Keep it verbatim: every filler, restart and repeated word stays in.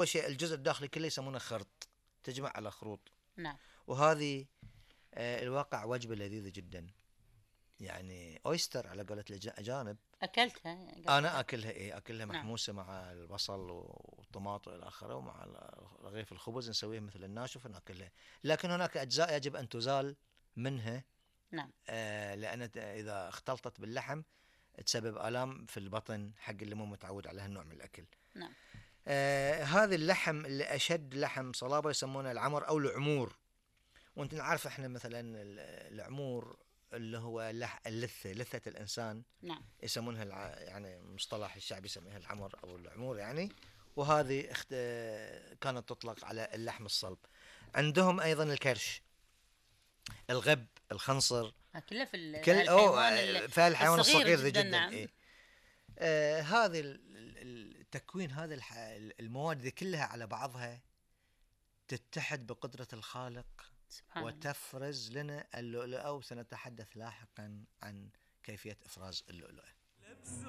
أول شيء الجزء الداخلي كله يسمونه خرط، تجمع على خروط. نعم. وهذه آه الواقع وجبة لذيذة جدا، يعني أويستر على قولة الأجانب. أكلتها؟ أنا أكلها إيه أكلها نعم. محموسة مع البصل والطماط إلى آخره، ومع رغيف الخبز نسويه مثل الناشف ونأكلها. لكن هناك أجزاء يجب أن تزال منها. نعم. آه لأن إذا اختلطت باللحم تسبب آلام في البطن حق اللي مو متعود على هالنوع من الأكل. نعم. آه هذا اللحم اللي أشد لحم صلابة يسمونه العمر أو العمور. وانت عارف احنا مثلا العمور اللي هو اللثة لثة الإنسان. نعم. يسمونها الع... يعني مصطلح الشعبي يسميها العمر أو العمور يعني. وهذه اخت... كانت تطلق على اللحم الصلب. عندهم أيضا الكرش، الغب، الخنصر، كله في كل الحيوان في الحيوان الصغير, الصغير جدا, جدا. نعم. إيه؟ آه هذه التكوين هذه الح... المواد دي كلها على بعضها تتحد بقدرة الخالق وتفرز لنا اللؤلؤة. وسنتحدث لاحقا عن كيفية إفراز اللؤلؤة.